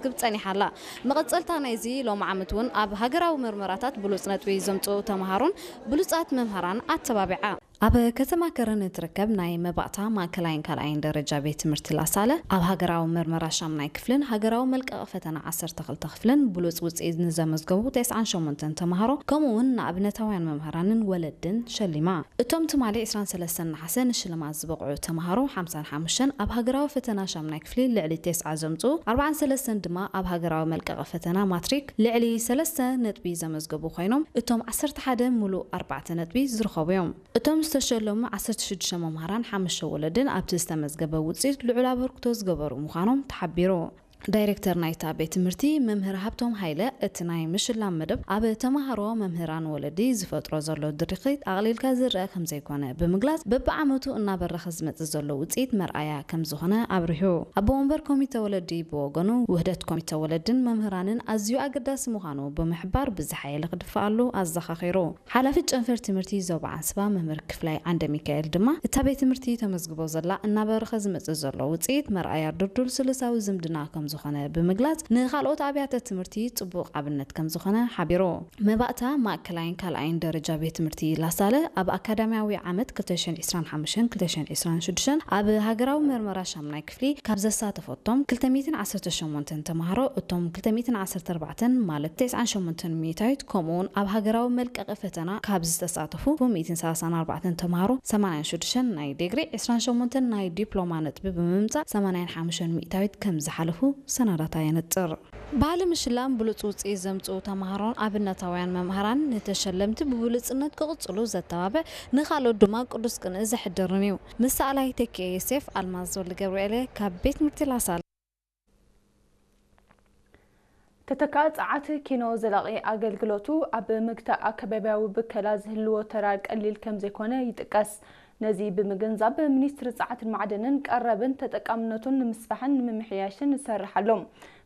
ክብ ጸኒሓ ኣላ። መቐጸልታ ናይዚ ሎም ዓመት እውን ኣብ ሃገራዊ መርመራታት ብሉጽ ነጥቢ ዘምጽኡ ተምሃሮን ብሉጻት መምህራን ኣተባቢዓ። ኣብ ከተማ ከረን እትርከብ ናይ መባእታ ማእከላይን ካልኣይን ደረጃ ቤት ትምህርቲ ላሳለ ኣብ ሃገራዊ መርመራ ሻምናይ ክፍልን ሃገራዊ መልቀቒ ፈተና ዓሰርተ ክልተ ክፍልን ብሉጽ ውጽኢት ንዘመዝገቡ ተስዓን ሸሞንተን ተምሃሮ ከምኡ እውን ንኣብነታውያን መምህራንን ወለድን ሸሊማ። እቶም ትማሊ ዕስራን ሰለስተን ነሓሰ ንሽልማት ዝበቕዑ ተምሃሮ ሓምሳን ሓሙሽተን ኣብ ሃገራዊ ፈተና ሻምናይ ክፍሊ ልዕሊ ተስዓ ዘምጽኡ ኣርባዓን ሰለስተን ድማ ኣብ ሃገራዊ መልቀቒ ፈተና ማትሪክ ልዕሊ ሰለስተ ነጥቢ ዘመዝገቡ ኮይኖም እቶም ዓሰርተ ሓደ ሙሉእ ኣርባዕተ ነጥቢ ዝረኸቡ እዮም። እቶም ዝተሸለሙ ዓሰርተ ሽዱሽተ መምሃራን ሓሙሽተ ወለድን ኣብቲ ዝተመዝገበ ውፅኢት ልዑል ኣበርክቶ ዝገበሩ ምዃኖም ተሓቢሩ። ዳይሬክተር ናይታ ቤት ትምህርቲ መምህር ሃብቶም ሃይለ እቲ ናይ ምሽላም መደብ ኣብ ተምሃሮ መምህራን ወለዲ ዝፈጥሮ ዘሎ ድርኺት ኣቕሊልካ ዝረአ ከምዘይኮነ ብምግላጽ በብዓመቱ እናበረኸ ዝመጽእ ዘሎ ውፅኢት መርኣያ ከምዝኾነ ኣብሪሁ። ኣቦ ወንበር ኮሚተ ወለዲ ብወገኑ ውህደት ኮሚተ ወለድን መምህራንን ኣዝዩ ኣገዳሲ ምዃኑ ብምሕባር ብዝሓየለ ክድፍኣሉ ኣዘኻኺሩ። ሓላፊት ጨንፈር ትምህርቲ ዞባ ዓንስባ መምህር ክፍላይ ዓንደ ሚካኤል ድማ እታ ቤት ትምህርቲ ተመዝግቦ ዘላ እናበረኸ ዝመጽእ ዘሎ ውፅኢት መርኣያ ድልዱል ስልሳዊ ዝምድና ከምዝኾነ ብምግላጽ ንኻልኦት ኣብያተ ትምህርቲ ጽቡቕ ኣብነት ከምዝኾነ ሓቢሩ። መባእታ ማእከላይን ካልኣይን ደረጃ ቤት ትምህርቲ ላሳለ ኣብ ኣካዳሚያዊ ዓመት ክልተ ሽሕን ዕስራን ሓሙሽተን ክልተ ሽሕን ዕስራን ሽዱሽተን ኣብ ሃገራዊ መርመራ ሻምናይ ክፍሊ ካብ ዘሳተፈቶም ክልተ ሚእትን ዓሰርተ ሸሞንተን ተምሃሮ እቶም ክልተ ሚእትን ዓሰርተ ኣርባዕተን ማለት ተስዓን ሸሞንተን ሚእታዊት ከምኡውን ኣብ ሃገራዊ መልቀቒ ፈተና ካብ ዝተሳተፉ ሚእትን ሰላሳን ኣርባዕተን ተምሃሮ ሰማንያን ሽዱሽተን ናይ ዲግሪ ዕስራን ሸሞንተን ናይ ዲፕሎማ ነጥቢ ብምምጻእ ሰማንያን ሓሙሽተን ሚእታዊት ከም ዝሓለፉ ሰነዳታ የነጽር። ባህሊ ምሽላም ብሉጽ ውጽኢት ዘምጽኡ ተምሃሮን ኣብነታውያን መምሃራን ንተሸለምቲ ብብሉጽነት ክቕጽሉ ዘተባብዕ ንኻልኦት ድማ ቅዱስ ቅንኢ ዘሕድርን እዩ። ምስ ሰኣላይ ተኪኤ ዮሴፍ ኣልማዝ ወልደ ገብርኤል እየ ካብ ቤት ትምህርቲ ላሳለ። ተተካኢ ጸዓት ኪኖ ዘላቒ ኣገልግሎቱ ኣብ ምግታእ ኣከባቢያዊ ብከላ ዝህልዎ ተራ ቀሊል ከም ዘይኮነ ይጥቀስ። ነዚ ብምግንዛብ ሚኒስትሪ ጸዓትን ማዕድንን ቀረብን ተጠቃምነቱን ንምስፋሕን ንምምሕያሽን ይሰርሕ ኣሎ።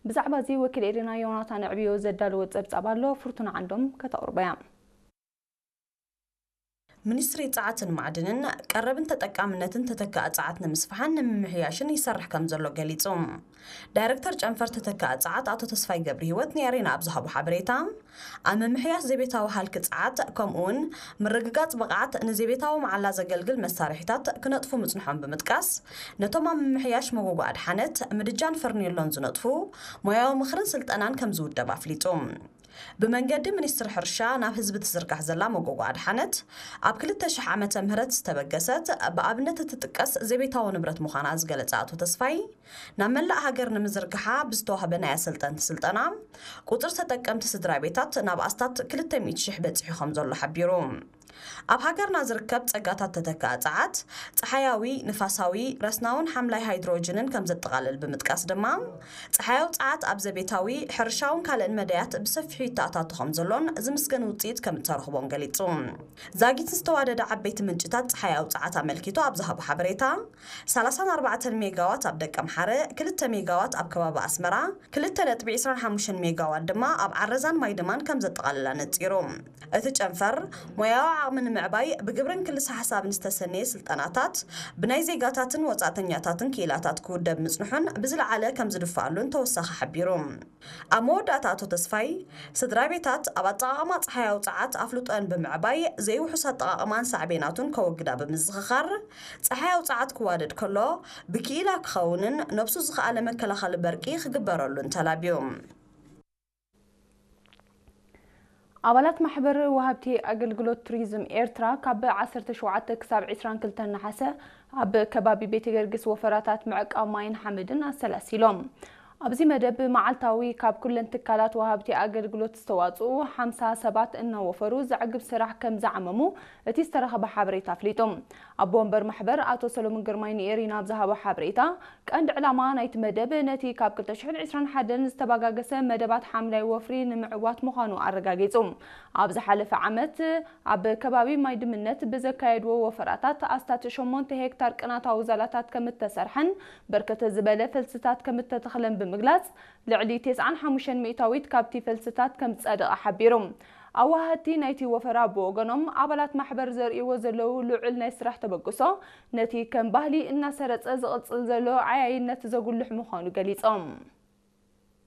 ብዛዕባ እዚ ወኪል ኤሪና ዮናታን ዕብዮ ዘዳለዎ ጸብጻብ ኣሎ፣ ፍርቱና ዓንዶም ከተቕርቦ እያ። ሚኒስትሪ ጸዓትን ማዕድንን ቀረብን ተጠቃምነትን ተተካኢ ጸዓት ንምስፋሕን ንምምሕያሽን ይሰርሕ ከም ዘሎ ገሊጹ። ዳይሬክተር ጨንፈር ተተካኢ ጸዓት ኣቶ ተስፋይ ገብረ ህይወት ንኤሪና ኣብ ዝሃቦ ሓበሬታ፣ ኣብ ምምሕያሽ ዘቤታዊ ሃልኪ ጸዓት ከምኡውን ምርግጋጽ ብቕዓት ንዘቤታዊ መዓላ ዘገልግል መሳርሒታት ክነጥፉ ምጽንሖም ብምጥቃስ፣ ነቶም ኣብ ምምሕያሽ መጎጎ ኣድሓነት፣ ምድጃን ፈርኔሎን ዝነጥፉ ሞያዊ ምኽርን ስልጠናን ከም ዝውደብ ኣፍሊጡ። ብመንገዲ ሚኒስትሪ ሕርሻ ናብ ህዝቢ ትዝርጋሕ ዘላ መጎጎ ኣድሓነት፣ ኣብ ክልተ ሽሕ ዓመተ ምህረት ዝተበገሰት ብኣብነት እትጥቀስ ዘቤታዊ ንብረት ምዃና ዝገለጸ ኣቶ ተስፋይ፣ ናብ መላእ ሃገር ንምዝርጋሓ ብዝተዋህበ ናይ ኣሰልጠንቲ ስልጠና፣ ቁጽሪ ተጠቀምቲ ስድራ ቤታት ናብ ኣስታት ክልተ ሚእቲ ሽሕ በጺሑ ከም ዘሎ ሓቢሩ። ኣብ ሃገርና ዝርከብ ጸጋታት ተተካኢ ጸዓት፣ ጸሓያዊ፣ ንፋሳዊ፣ ረስናውን ሓምላይ ሃይድሮጅንን ከም ዘጠቓልል ብምጥቃስ ድማ፣ ጸሓያዊ ጸዓት ኣብ ዘቤታዊ፣ ሕርሻውን ካልእን መዳያት ብሰፊሑ ይተኣታቶ ከም ዘሎን ዝምስገን ውጽኢት ከም እተረኽቦን ገሊጹ። ዛጊት ዝተዋደደ ዓበይቲ ምንጭታት ጸሓያዊ ጸዓት ኣመልኪቱ ኣብ ዝሃቦ ሓበሬታ፣ ሰላሳን ኣርባዕተን ሜጋዋት ኣብ ደቀምሓረ፣ ክልተ ሜጋዋት ኣብ ከባቢ ኣስመራ፣ ክልተ ነጥቢ ዕስራን ሓሙሽተን ሜጋዋት ድማ ኣብ ዓረዛን ማይድማን ከም ዘጠቓልላ ነጺሩ። እቲ ጨንፈር፣ ሞያዊ ዓቕሚ ንምዕባይ ብግብርን ክልሰ ሓሳብን ዝተሰነየ ስልጠናታት፣ ብናይ ዜጋታትን ወጻእተኛታትን ክኢላታት ክውደብ ምጽንሑን ብዝለዓለ ከም ዝድፍኣሉን ተወሳኺ ሓቢሩ። ኣብ መወዳእታ ኣቶ ተስፋይ፣ ስድራ ቤታት ኣብ ኣጠቓቕማ ጸሓያዊ ጸዓት ኣፍልጦን ብምዕባይ፣ ዘይውሑስ ኣጠቓቕማን ሳዕቤናቱን ከወግዳ ብምዝኽኻር፣ ጸሓያዊ ጸዓት ክዋደድ ከሎ፣ ብክኢላ ክኸውንን ነብሱ ዝኸኣለ መከላኸሊ በርቂ ክግበረሉን ተላብዩ። ኣባላት ማሕበር ወሃብቲ ኣገልግሎት ቱሪዝም ኤርትራ ካብ ዓሰርተ ሸውዓተ ክሳብ ዕስራን ክልተን ነሓሰ ኣብ ከባቢ ቤተ ገርግስ ወፈራታት ምዕቃብ ማይን ሓመድን ኣሰላሲሎም። ኣብዚ መደብ መዓልታዊ ካብ ኩለን ትካላት ወሃብቲ ኣገልግሎት ዝተዋጽኡ ሓምሳ ሰባት እናወፈሩ ዘዕግብ ስራሕ ከም ዝዓመሙ እቲ ዝተረኸበ ሓበሬታ ኣፍሊጡ። ኣቦ ወንበር ማሕበር ኣቶ ሰሎሞን ግርማይ ንኤሪና ኣብ ዝሃቦ ሓበሬታ፣ ቀንዲ ዕላማ ናይቲ መደብ ነቲ ካብ ክልተ ሽሕን ዕስራን ሓደን ዝተባጋገሰ መደባት ሓምላይ ወፍሪ ንምዕዋት ምዃኑ ኣረጋጊጹ። ኣብ ዝሓለፈ ዓመት ኣብ ከባቢ ማይ ድምነት ብዘካየድዎ ወፈራታት ኣስታት ሸሞንተ ሄክታር ቅናታዊ ዛላታት ከም እተሰርሐን ብርክት ዝበለ ፈልስታት ከም እተተኽለን ብምግላጽ፣ ልዕሊ ተስዓን ሓሙሽተን ሚእታዊት ካብቲ ፈልስታት ከም ዝጸደቐ ሓቢሩ። ኣዋሃድቲ ናይቲ ወፈራ ብወገኖም፣ ኣባላት ማሕበር ዘርእይዎ ዘለዉ ልዑል ናይ ስራሕ ተበግሶ፣ ነቲ ከም ባህሊ እናሰረጸ ዝቕጽል ዘሎ ዓያይነት ዘጉልሕ ምዃኑ ገሊጾም።